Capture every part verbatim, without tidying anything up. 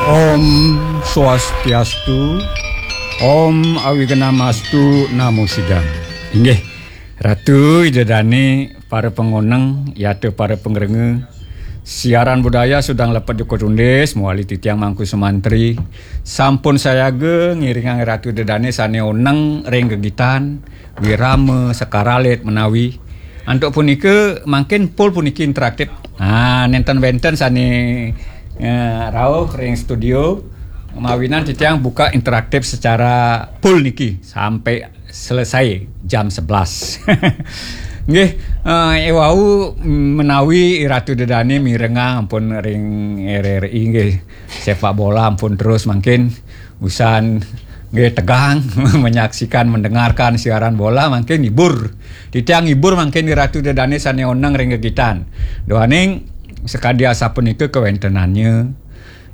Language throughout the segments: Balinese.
Om Swastiastu, Om Awignamastu Namo Sidam. Inggih, Ratu Ida Dane, para pangoneng, yata para pangrengga, siaran budaya Sudang Lepet Jukut Undis, mawali titiang Mangku Sumantri, sampun sayaga ngiringang Ratu Ida Dane sane oneng ring gegitan, wirama, sekar alit menawi. Antuk punika, mangkin pul puniki interaktif. Ah, nenten wenten sane, eh, rauh ring studio, mawinan titiang buka interaktif secara pul niki sampai selesai jam sebelas. Nggih, eh, ewau menawi Ratu Ida Dane mirengang ampun ring R R I nggih. Sepak bola ampun terus mangkin usan nggih tegang menyaksikan, mendengarkan siaran bola, mangkin ngibur. Titiang ngibur mangkin Ratu Ida Dane sane oneng ring gegitan. Duaning sakadi asapunika kawentenannya,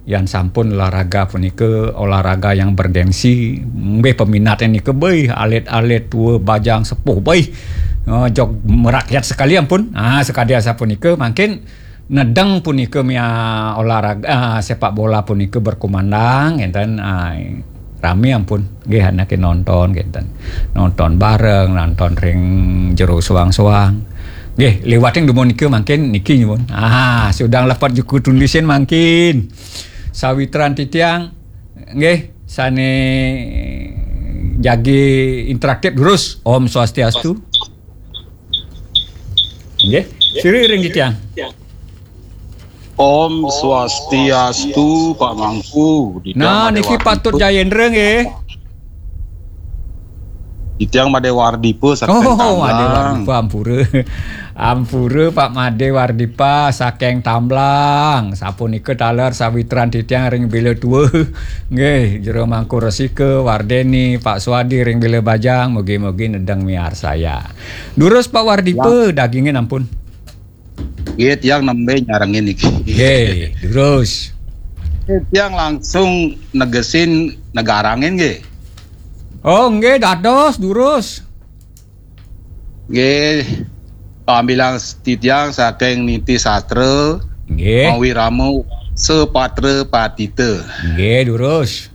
yan sampun olahraga punika olahraga yang bergengsi, nggih peminatnya nika beuh, alit-alit tua, bajang, sepuh beuh. Eh, jog merakyat sekali ampun. Ah, sakadi asapunika mangkin nedeng punika mia olahraga, ah, sepak bola punika berkumandang, ngenten, ah, rame ampun. Nggih, anake nonton, ngenten. Nonton bareng, nonton ring jero soang-soang. Nggih, liwat ring dumun nika mangkin niki nyuwun. Ah, Sudang Lepet Jukut Undis mangkin. Sawitran titiang, nggih, sane jagi interaktif durus. Om Swastiastu. Nggih, sira ring titiang. Om Swastiastu, Pak Mangku. Nah, niki Patut Jayendra nggih. Titiang Made Wardipa saking Oh, Made Tamblang. Wardipa, ampura. Ampura, Pak Made Wardipa saking Tamblang. Sapunika taler sawitran titiang ring Bila Tua. Nggih, Jero Mangku Resika, Wardeni, Pak Swadi ring Bila Bajang, mugi-mugi nedeng miarsaya. Durus Pak Wardipa, dagingin ampun. Nggih, tiang nembe nyarengin niki. Nggih, durus. Nggih, tiang langsung negesin negarangin nggih. Oh, nggih, dados, durus. Nggih, pamilang titiang saking Niti Sastra, Nggih. Mawirama Sepatra Patita. Nggih, durus.